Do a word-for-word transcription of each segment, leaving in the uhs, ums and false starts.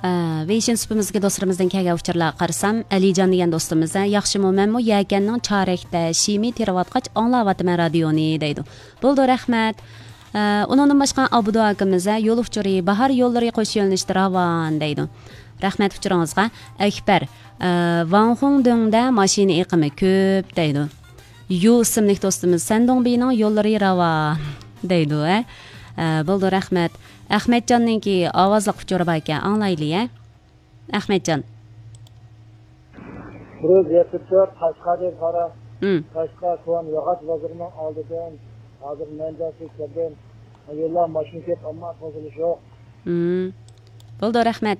ئە، ۋېيشىن سۇپىمىزدىكى دوستلىرىمىزدىن كەلگەن ئۇچۇرلارغا قارىسام، ئەلىجان دېگەن دوستىمىز، ھە، ياخشىمۇ، مەنمۇ يەكەننىڭ چارەكتە شىمى تېرىۋاتقاچ ئاڭلاۋاتىمەن رادىيونى دەيدۇ. بولىدۇ، رەھمەت. ئە، ئۇنىڭدىن باشقا ئابدۇ ئاكىمىز، ھە، يول ئۇچۇرى، باھار يوللىرى قوش يۆنىلىشتە راۋان دەيدۇ. رەھمەت ئۇچۇرىڭىزغا. ئەكبەر، ئە، ۋاڭخۇڭدۇڭدە ماشىنا ئېقىمى كۆپ دەيدۇ. يۇ ئىسىملىك دوستىمىز، سەندۇڭبىنىڭ يوللىرى راۋان دەيدۇ، ھە. ئە، بولىدۇ، رەھمەت. ئەخمەتجاننىڭكى ئاۋازلىق ئۇچۇرى بار ئىكەن، ئاڭلايلى، ھە. ئەخمەتجان. بىر يۈز يەتتە تۆت قەشقەردىن قارا. ھىم. قەشقەر كونا ياغاچ بازىرىنىڭ ئالدىدىن ھازىر مەنزىرىگە كەلدىم. يوللار ماشىنا كۆپ، ئەمما توسۇلۇش يوق. ھىم. بولىدۇ، رەھمەت.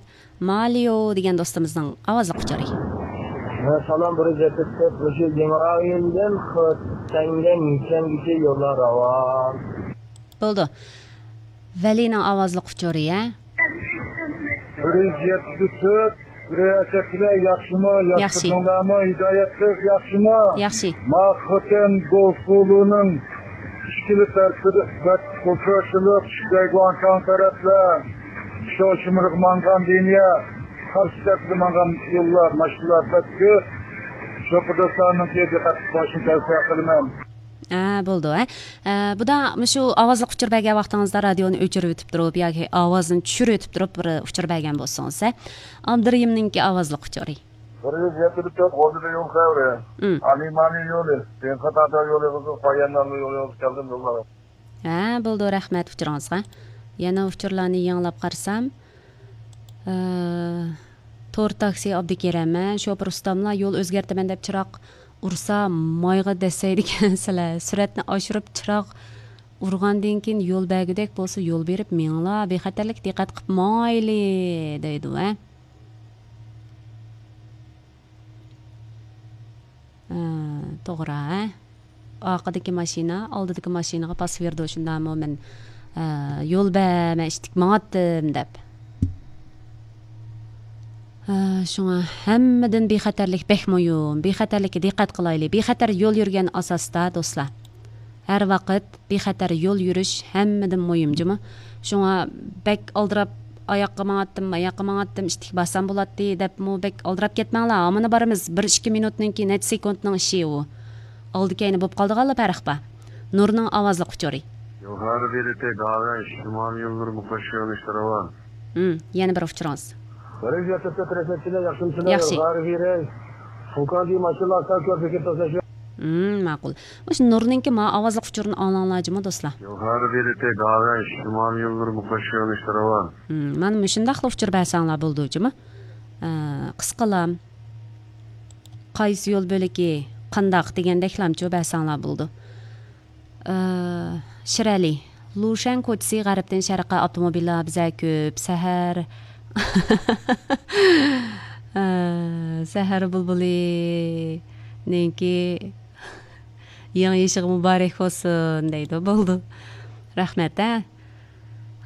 مالىيو دېگەن دوستىمىزنىڭ ئاۋازلىق ئۇچۇرى. سالام، بىر يۈز يەتتە تۆت، مۇشۇ يېڭىئاينىڭدىن خېتەنگە نىشانگىچە يوللار راۋان. بولىدۇ. ۋەلىنىڭ ئاۋازلىق ئۇچۇرى، ھە؟ بىر يۈز يەتتە تۆت، رىياسەتچىلەر ياخشىمۇ؟ ياخشى. ياخشى. ھىدايەت قىز ياخشىمۇ؟ ياخشى. ما خوتەن گوسۇلىنىڭ ئىككىلا تەرىپىدە بەك ئۇچرىشىلىپ، شىگەيگۇاڭشاڭ تەرەپلەر، شوشىمىرغا ماڭغان لىنىيە، قارشى تەرەپكە ماڭغان يوللار، ماشىنىلار بەك كۆپ. شوپۇرداشلارنىڭكى دىققەت قىلىشىنى تەۋسىيە قىلىمەن. ھە، بولىدۇ، ھە. ئە، بۇدا مۇشۇ ئاۋازلىق ئۇچۇر بەرگەن ۋاقتىڭىزدا رادىيونى ئۆچۈرۈۋېتىپ تۇرۇپ ياكى ئاۋازىنى چۈشۈرۈۋېتىپ تۇرۇپ بىر ئۇچۇر بەرگەن بولسىڭىز، ھە. ئابدۇرېھىمنىڭكى ئاۋازلىق ئۇچۇرى. بىر يۈز يەتتە تۆت غوزىدا يول خەۋىرى. ھىم. ئالىمانى يولى، دېڭخا تاتا يولى، قىزىل قايانلارنىڭ يولى، قىزىل كەلدىم يوللار. ھە، بولىدۇ، رەھمەت ئۇچۇرىڭىزغا. يەنە ئۇچۇرلارنى يېڭىلاپ قارىسام، ئە، تور تاكسى ئابدۇكېرەم، ھە، شوپۇر ئۇستاملا يول ئۆزگەرتىمەن دەپ چىراغ ئۇرسا مايغا دەسسەيدىكەنسىلەر. سۈرئەتنى ئاشۇرۇپ چىراغ ئۇرغاندىن كېيىن يول بەرگۈدەك بولسا يول بېرىپ مېڭىڭلار، بىخەتەرلىككە دىققەت قىلىپ ماڭايلى دەيدۇ، ھە. ئە، توغرا، ھە. ئارقىدىكى ماشىنا ئالدىدىكى ماشىنىغا پاس بېرىدۇ، شۇنداقمۇ؟ مەن، ئە، يول بەر، مەن ئىتتىك ماڭاتتىم دەپ. ئە، شۇڭا ھەممىدىن بىخەتەرلىك بەك مۇھىم. بىخەتەرلىككە دىققەت قىلايلى. بىخەتەر يول يۈرگەن ئاساستا، دوستلار. ھەر ۋاقىت بىخەتەر يول يۈرۈش ھەممىدىن مۇھىم جۇمۇ. شۇڭا بەك ئالدىراپ، ئاياققا ماڭاتتىم، ماياققا ماڭاتتىم، ئىتتىك بارسام بولاتتى دەپمۇ بەك ئالدىراپ كەتمەڭلار. ھامىنا بارىمىز، بىر ئىككى مىنۇتنىڭكى نەچچە سېكۇنتنىڭ ئىشى ئۇ. ئالدى كەينى بوپ قالىدىغانلا پەرق بار. نۇرنىڭ ئاۋازلىق ئۇچۇرى. يوغان ۋېرىتى داۋەن شىمال يوللىرى مۇقەششىيونىشتىرىۋان. ھىم، يەنە بىر ئۇچۇرىڭىز. بىر يۈز يەتتە تۆت رەسمىيەتچىلەر ياخشىمۇسىلەر؟ ياخشى. يوغان ۋېرى فۇكاندى ماشىنىلار سەل كۆپ كېتىۋاتىدۇ. ھىم، ماقۇل. مۇشۇ نۇرنىڭكى ما ئاۋازلىق ئۇچۇرىنى ئاڭلاڭلار جۇمۇ، دوستلار. يوغان ۋېرىتى داۋەن شىمال يوللىرى مۇقەششىيونىشتىرىۋان. ھىم، مانا مۇشۇنداقلا ئۇچۇر بەرسەڭلار بولىدۇ جۇمۇ. ئە، قىسقىلام. قايسى يول بۆلىكى قانداق دېگەندەكلامچۇ بەرسەڭلار بولىدۇ. ئە، شىرئەلى، لۇشەن كوچىسى غەربتىن شەرققە ئاپتوموبىللار بىزە كۆپ. سەھەر، ئە، سەھەر بۇلبۇلىنىڭكى يېڭى يېشىغا مۇبارەك بولسۇن دەيدۇ. بولىدۇ. رەھمەت، ھە.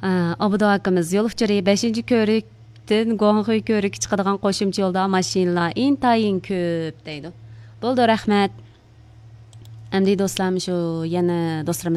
ئە، ئابدۇ ئاكىمىز، يول ئۇچۇرى بەشىنچى كۆۋرۈكتىن گۇاڭخۇي كۆۋرۈككە چىقىدىغان قوشۇمچە يولدا ماشىنىلار ئىنتايىن كۆپ دەيدۇ. بولىدۇ، رەھمەت. ئەمدى دوستلار، شۇ يەنە دوستلىرىمىز